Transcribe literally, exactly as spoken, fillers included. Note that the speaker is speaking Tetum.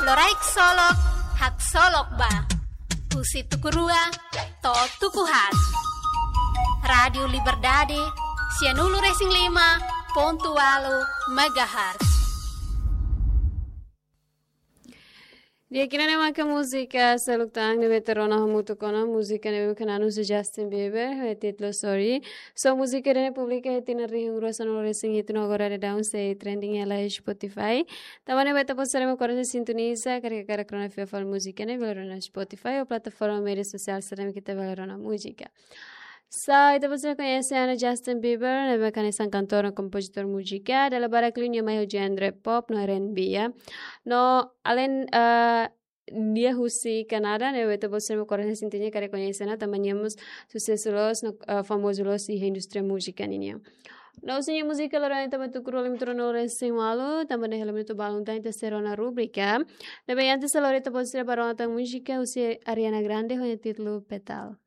Loraik solok, haksolok ba. Husi tuku rua to'o tuku haat. Rádiu Liberdade, sianulu-resin-lima pontu ualu megahertz. Di'ak, ida-ne'e maka múzika seluk tan ne'ebé ita rona hamutuk ona, múzika ne'ebé maka anúnsiu Justin Bieber, ho títulu Sorry. So múzika ida-ne'e publika iha tinan rihun rua sanulu-resin-hitu no agora daudaun sei trending hela iha Spotify. Tanba ne'e ita-boot sira mak oras ne'e sintoniza, karik hakarak rona fila fali múzika ne'e, bele rona Spotify ou plataforma média sosiál sira ne'ebé ita bele rona múzika. So, ita-boot sira koñese ona Justin Bieber, ne'ebé hanesan kantór no kompozitór múzika, dala barak liu nia mai ho genre pop no R and B, ya. No, além, eh, nia husi Kanadá, ne'ebé ita-boot sira mak oras ne'e sente nia karik koñese ona, tanba nia mós susesu loos no, eh, famozu loos iha indústria múzika ninian. No husi nia múzika loron ita mai tuku rua lima turu no resin walu, tanba ne'e hela minutu balun tan ita sei rona rubrika. Ne'ebé antes ha'u lori ita-boot sira ba rona tan múzika husi Ariana Grande ho nia títulu Pétale.